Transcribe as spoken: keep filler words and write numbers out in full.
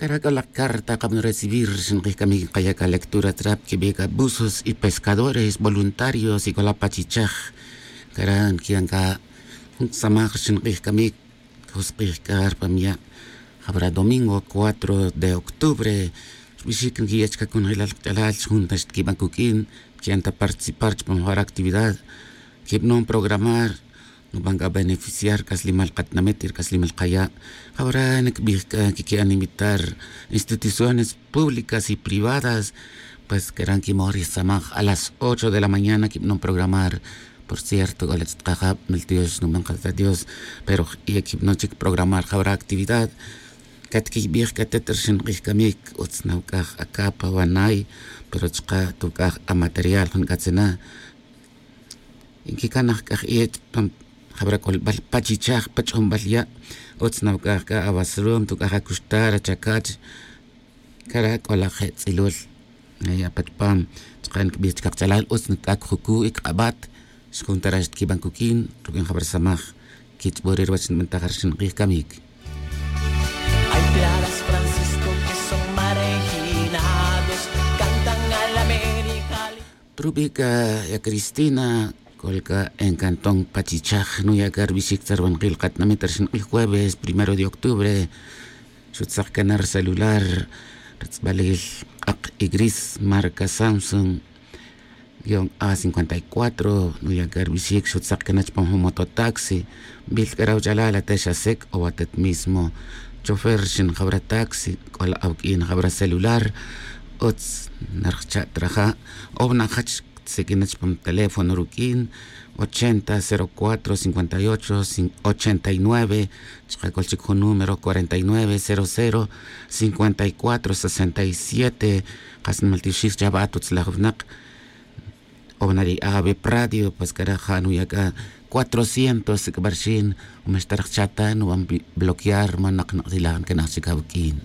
Cara' c'o la carta kabno recibir xink'ij camic nkaya' ca lectura trap quibe' ca buzos y pescadores voluntarios y c'o la pachichaj. Cara' nquian ca jun samaj xink'ij camic. Josk'ij c'a rpam ya' jabra domingo cuatro de octubre. Rbixic nquiya' chica conjelal kach'alal xjun ta xtquiban cuq'uin. Quian ta participar chupam jabra actividad. Quibnon programar nuban c'a beneficiar c'aslimal katinamit y rc'aslimal kaya'. Jabra nicbij c'a quiqui'an invitar instituciones públicas y privadas. Pues queran quimoj ri samaj a las ocho de la mañana quibnon programar. Por cierto c'o la ch'it kajab mil tiox nuban kata dios. Pero y quibnon chic programar jabra actividad. Catquiybij c'a atet rxink'ij camic utz nawc'aj acapa wanay. Pero chuka' tuc'aj amaterial jun c'atzena. Nquicanaj c'a je' chupam jabra c'olbal pachichaj pach'onbal ya'. Utz nawc'aj c'a awasarum tuc'aj acuxtar achacach. Cara' c'o la je' tz'ilul. Apachpam chuka' nicbij chica kach'alal utz nic'ac jucu' y cak'abat. Xjun ta ra' xtquiban cuq'uin ruq'uin jabra samaj. Quich'bo re ruwach nbantaj rxink'ij camic. Hay claras francisco que son marginados cantan al américa. Rubi' c'a ya cristina c'ol c'a en cantón pachichaj nuya' c'a rubixic tzarbankil katinamit rxink'ij jueves primero de octubre. Xutzak cana rucelular rutz'balil k'ak y gris marca samsung guion a cincuenta y cuatro. Nuya' c'a rubixic xutzak cana chupam jun mototaxi. Nbil c'a rawach'alal ate xasec o atet mismo chofer xin jabra taxi c'o la awq'uin jabra celular. Utz narjcha' ta raja' o wna' jach. Siq'uin na chupam teléfono ruq'uin ochenta cero cuatro cincuenta y ocho ochenta y nueve. Chuka' c'ol chic jun número cuarenta y nueve cero cero cincuenta y cuatro sesenta y siete. Kas nimal tixic chabat utzlaj winak. O wna' ri ave pradio pues cara' ja' nuya' c'a cuatrocientos sic'barxin. Umax ta rajcha' ta nuban bloquear man nak nak'tilaj ncanaj chic awuq'uin.